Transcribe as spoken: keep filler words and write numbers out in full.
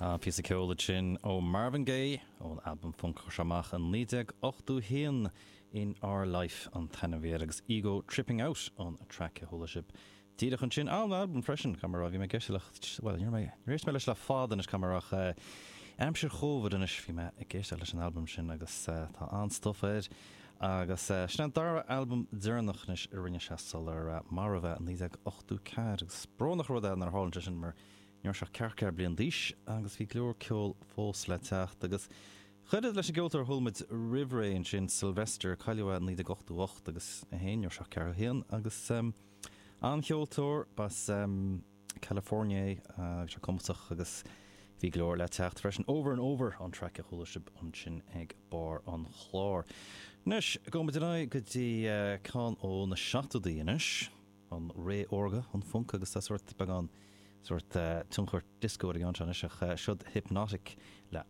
Píosa ceoil sin ó Marvin Gaye ón albam funk amach in naoi déag ochtó haon in Our Life an t-ainm agus Ego Tripping Out an track a chuala sibh. Díreach ansin an albam freisin camrá bhí mé geisteach well rééis me leis le fád is camarach aimsir Covid anois bhí mé ag éisteacht leis an albam sin agus tá an-stuff air agus sin an dara albam deireanach anois a rinne sé sular maraíodh é naoi déag ochtó ceathair agus brónach rud é nar tharla sin mar ní raibh sé ceathracha bliain d'aois agus bhí go leor ceol fós le teacht agus chuid leis an gceoltóir a chuala muid roimh ré ansin Sylvester cailleadh naoi déag ochtó ocht agus a haon ní raibh sé ceathracha haon agus um, an-cheoltóir as um, California agus sé cumasach agus bhí go leor le teacht freisin over and over an track a chuala sibh ansin ag barr an chláir. Anois gabhfaidh muid go dtí uh, ceann ó na seachtóidí anois an ré órga an funk agus tá sórt beagán sórt uh, tionchar disco ag an ach uh, siod Hypnotic le